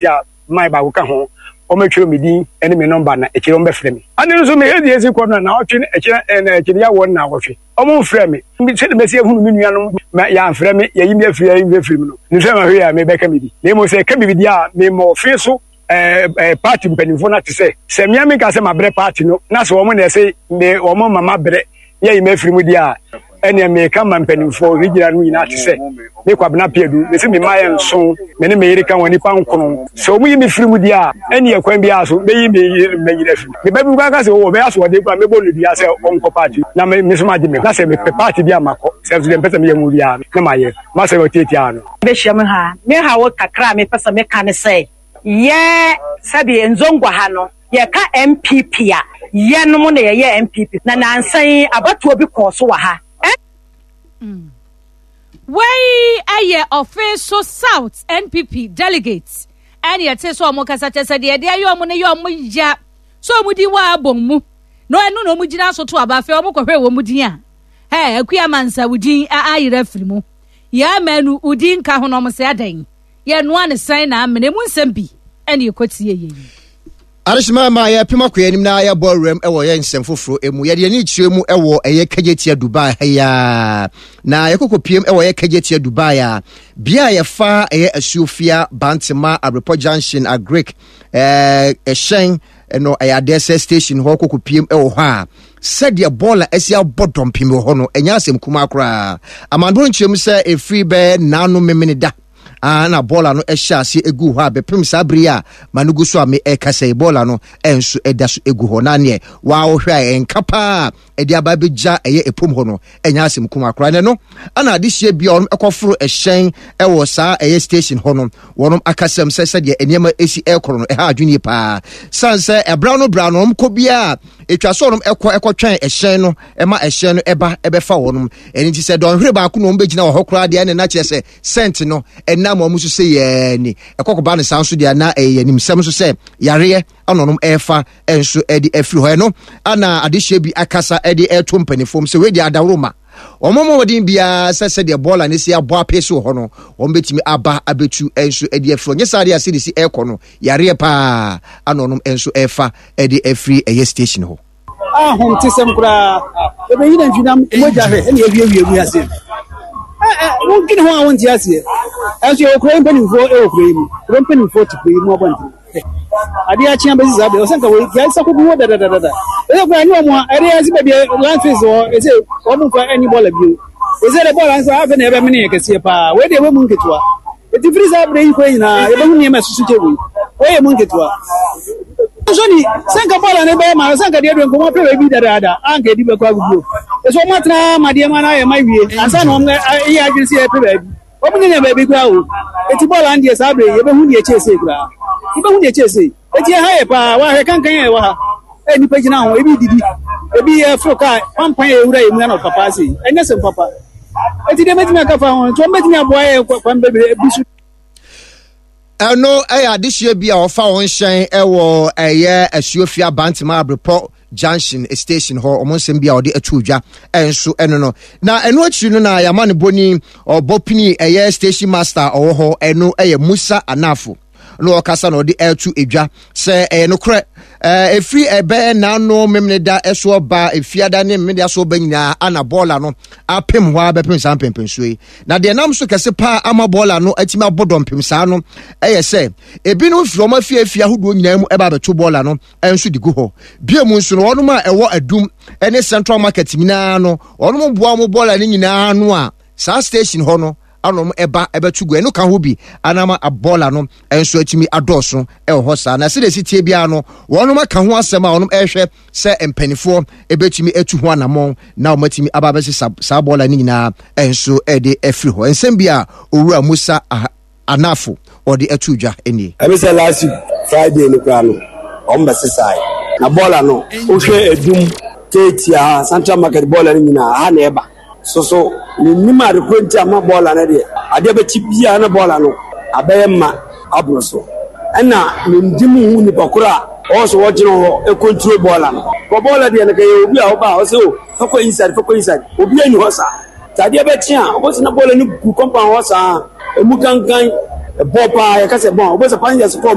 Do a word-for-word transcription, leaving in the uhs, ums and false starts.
a man baako ka ho, wɔmɛtwerɛ me din ne me nɔmba na akyire wɔmbɛfrɛ me. Ade no nso mehwɛ deɛ ɛsi kɔ no na ɔtwe akyire na akyire yɛ wɔ na wɔtwe ɔmo mfrɛ me sɛde mɛsi ahunu me nuanom ma yɛamfrɛ me, yɛyi me afiri yɛyi me afiri mu no ne sɛ mahwɛ a mebɛka me bi, na mmom sɛ ɛka me bi deɛ a memmɔ ɔfe so. ɛɛ ɛɛ party mpanimfoɔ no ate sɛ sɛ mmea mi nka sɛ mabrɛ party no na sɛ wɔn na ɛsɛ me wɔn ma mabrɛ yɛyi me afiri mu deɛ a, ɛnea meka ma mpanimfoɔ regional no nyinaa te sɛ me Kwabena Piadu me sɛ me mma yɛ nson, me ne me yere ka wɔn nipa nkono. Sɛ wɔn yi me firi mu deɛ a, ɛne ɛkwan biara so mɛyi me yere mɛnyina afiri me ba bi kora ka sɛ wɔwɔ bɛyɛ asoɔden kora mɛbɔ no dua sɛ ɔnkɔ party na me me so magye me na sɛ mepɛ party bi a makɔ, sɛ nso deɛ mpɛ sɛ meyɛ mu biara na mayɛ masɛ ɔtiatia no. Bɛhyia mu ha, me haw kakra a mepɛ sɛ meka ne sɛ yɛ sɛbi Nzongua ha no, yɛka N P P a, yɛnom na yɛyɛ N P P na nansa yi abatoɔ bi kɔɔ so wɔ ha. mm. Wei ɛyɛ Ɔfe South N P P delegate ɛne yɛte sɛ ɔmo kasa kyɛ sɛ deɛ ɛde ayɛ ɔmo no yɛ ɔmo ya so ɔmo di wɔ abɔn mu na ɛno na ɔmo gyina so to aba. Afei ɔmo kɔhwɛ wɔn mu din a ɛ Akua Mansa wo din ayerɛ afiri mu, yɛ ama no wo din nka ho na ɔmo sɛ adan yɛnoa ne sɛn na amena emu nsɛm bi ɛne ɛkɔtie yɛ yi. Adehyema ma yɛpem akɔ anim na yɛbɔ awuram wɔ yɛn nsɛm foforɔ mu. Yɛde yɛn kyerɛ mu wɔ ɛyɛ Kagyetia Dubai ha yi a na yɛkɔkɔ piem wɔ ɛyɛ Kagyetia Dubai a bea a yɛfa ɛyɛ Asuofia, Bantema, Abrepɔ Junction, Agric ɛɛ ɛhyɛn no, ɛyɛ adeɛ sɛ station hɔ kɔkɔ piem wɔ hɔ a, sɛdeɛ bɔɔla asi abɔ dɔmpem wɔ hɔ no, ɛnyɛ asɛm kumaa koraa. Amandoro nkyerɛ mu sɛ ɛfiri bɛɛ naano memene da na bɔɔla no hyɛ ase egu hɔ a bɛpem saa bere a ma no gu so a me ɛkasa yi, bɔɔla no nso ɛda so egu hɔ. Na neɛ wɔahwɛ a ɛnka paa ɛde aba abɛgya ɛyɛ ɛpom hɔ no, ɛnyɛ asɛm kuma koraa. Ne no ana adehyeɛ bi a wɔn ɛkɔforo ɛhyɛn ɛwɔ saa ɛyɛ station hɔ no, wɔn akasɛm sɛ sɛdeɛ nneɛma esi ɛkɔrɔ no ɛha adwene paa, san sɛ ɛbra no bra no wɔn kɔ biara etwa so wɔn ɛkɔ ɛkɔtwɛn ɛhyɛn no ɛma ɛhyɛn no ɛba ɛbɛfa wɔn. Ɛno nti sɛ dɔnhwere baako na wɔn bɛgyina wɔ hɔ koraa deɛ, ɛna n'akyerɛ sɛ scent no ɛnam wɔn so sɛ yɛɛ ni ɛkɔkɔba no saa nso deɛ, na ɛyɛ nimsɛm nso sɛ yareɛ ana ɔnom ɛrefa nso ɛde afiri hɔ. Ɛno ana adehyɛ bi akasa ɛde ɛto mpanimfoɔ sɛ wei deɛ adaworo ma wɔn mmɔden biara sɛ sɛdeɛ bɔɔla ne si abɔ ape so wɔ hɔ no, wɔn bɛtumi aba abɛtu nso ɛde afiri hɔ. Nyɛ saa deɛ ase de si ɛrekɔ no, yareɛ paa ana ɔnom nso ɛrefa ɛde afiri ɛyɛ station hɔ. Ahom te sɛm koraa ɛbɛyi na ntwinam mogya hwɛ ɛne awiewie wiase. Wodwene ho a wonte aseɛ. Ɛnso yɛwɔ kuro yi mpanimfoɔ, ɛwɔ kuro yi mu, kuro mpanimfoɔ te kuro yi mu abɔnten. Adeɛ akyea bɛsi saa bɛ ɔsɛ nka wei yɛn nsa koko hɔ dadadada. Ɛsɛ kura ne wɔn a ɛde ɛsɛ baabi landfills wɔ, ɛsɛ wɔn mfa ɛnyi bɔɔla bio. Ɛsɛ dɛ bɔɔla nso afɛ na ɛbɛmene yɛ kɛseɛ paa. Wei deɛ ɛbɛ mu nketewa eti firi saa abere yi kɔ nyinaa yɛbɛhu nneɛma ɛsoso kyɛ wei. Wei yɛ mu nketewa nso ni sɛ nka bɔɔla ne bɛyɛ ma sɛ nka deɛ deɛ nkɔmɔ pɛ baabi dadaada a nka edi bɛkɔ aguguo. Ɛsɛ wɔn atena ama deɛ ma na ayɛ ma wie ansa na wɔn yɛ adwene sɛ yɛpɛ baabi. Wɔn nyɛ baabi koraa o. Eti bɔɔla no deɛ, saa abere yi yɛbɛhu deɛ kyɛ sei koraa, yɛbɛhu deɛ kyɛ sei. Eti ɛha yɛ paa wahwɛ kankan yɛ wɔ ha ɛ nipa gyina ho, ebi didi, ebi yɛ foro kaa pampan yɛ ewura yɛ mu ano papa ase. Ɛnyɛ sɛm papa. Eti deɛ mɛtumi aka fa ho nti wɔn bɛtumi aboa yɛ kwan bebree bi so. Ɛno ɛyɛ adehyeɛ bi a ɔfa wɔn hyɛn ɛwɔ ɛyɛ Asuofia, Bantama, Abrepɔ Junction station hɔ, ɔmo nsɛm bi a ɔde ato dwa ɛnso ɛno no. Na ɛno akyiri no na yɛama ne bɔni ɔbɔ pini ɛyɛ station master ɔwɔ hɔ, ɛno ɛyɛ Musa Anafo na ɔkasa na ɔde ɛto edwa sɛ ɛyɛ nokorɛ, ɛɛ efiri ɛbɛyɛ n'ano memene da ɛso ɔba efiada ne memene da so ɔba nyinaa ana bɔɔla no apem hɔ a bɛpem saa mpɛmpɛnsuo yi. Na deɛ nam so kɛse paa ama bɔɔla no atumi abɔ dɔmpem saa no ɛyɛ sɛ ebinom firi wɔn afiafie ahodoɔ nyinaa mu ɛba abɛto bɔɔla no nso de gu hɔ. Bie mu nso no, wɔn a ɛwɔ Adum ne Central Market nyinaa no, wɔn boa wɔn bɔɔla no nyinaa no a saa station hɔ no anom ɛba ɛbɛto gu. Ɛno ka ho bi anam bɔɔla no nso atumi adɔɔso ɛwɔ hɔ saa. Na sɛdeɛ esi tie biara no, wɔn aka ho asɛm a wɔn ɛrehwɛ sɛ mpanimfoɔ ɛbɛtumi atu ho anammɔn na wɔn atumi aba abɛsesa saa bɔɔla no nyinaa nso ɛde afiri hɔ. Nsɛm bi a Owura Musa Anafo ɔde ato dwa nie. Ɛbi sɛ last week Friday no koraa no, wɔn bɛ sesae na bɔɔla no. Wohwɛ Edum, Keetia ha, Central Market, bɔɔla no nyinaa ha na ɛba so so menim ade koro nti ama bɔɔla no deɛ, adeɛ bɛkyi biara na bɔɔla no abɛyɛ ma aboro so. Ɛna mendi mu hu nipa koro a ɔwɔ so wɔgyina hɔ ɛcontrol bɔɔla no kɔ. Bɔɔla deɛ no kɛyɛ obi a ɔba a ɔsɛ o fɛkɔ inside, fɛkɔ inside, obi ani hɔ saa. Sɛ adeɛ bɛkye a, wobɛsɛ na bɔɔla no gu compound hɔ saa, emu kankan ɛbɔ paa. Yɛka sɛ bɔn, wobɛsɛ passengers kɔ.